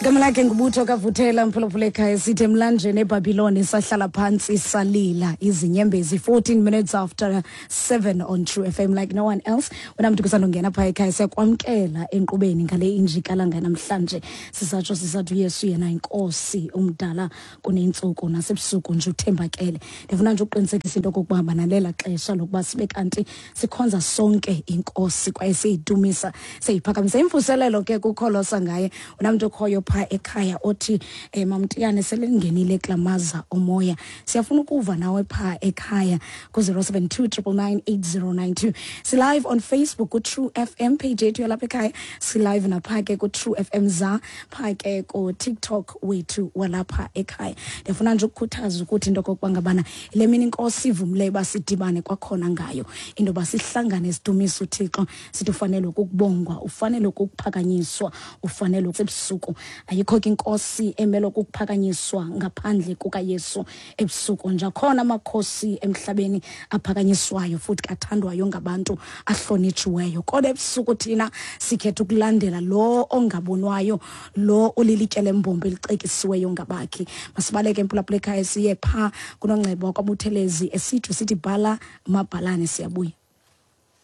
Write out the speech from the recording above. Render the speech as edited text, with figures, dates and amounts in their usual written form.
Igama lakhe ngubutho kavuthela mphulaphula ekhaya sithi emlanjeni ebhabhiloni sahlala phantsi salila izinyembezi 14 minutes after 7 on True FM like no one else. Wena mntu kusandongena phaa ekhaya siyakwamkela enkqubeni ngale injikalanga namhlanje sisatsho sisathi uyesu yena inkosi umdala kunentsuku nasebusuku nje uthembakele. Ndifuna nje ukuqinisekisa into okokuba banalela xesha lokuba sibe kanti sikhonza sonke inkosi kwaye siyidumisa siyiphakamisa imvuselelo ke kukholosa ngaye unamntu okhoyo phaa ekhaya othi um mamtiyane sele ndingenile kula maza omoya siyafuna ukuva nawe phaa ekhaya ku-072 999 8092 silive on facebook kutrue fm page yethu yalapha ekhaya silive naphaa ke kutrue fm za phaa ke kutiktok wethu walapha ekhaya ndiyafuna nje ukukhuthaza ukuthi into okokuba ngabana le mini inkosi ivumileyo uba sidibane kwakhona ngayo into yoba sihlangane sidumise uthixo sithi ufanelwe kukubongwa ufanelwe kukuphakanyiswa ufanelwe ebusuku ayikho ke inkosi emelwe kukuphakanyiswa ngaphandle kukayesu ebusuku nje akhona amakhosi emhlabeni aphakanyiswayo futhi kathandwayo ngabantu ahlonitshiweyo kodwa ebusuku thina sikhetha ukulandela lo ongabonwayo lo ulilitye lembombo elicekisiweyo ngabakhi masibaleke empulapula ekhaya siye phaa kunoncebo wakwabuthelezi esitsho sithi bhala mabhalane siyabuya.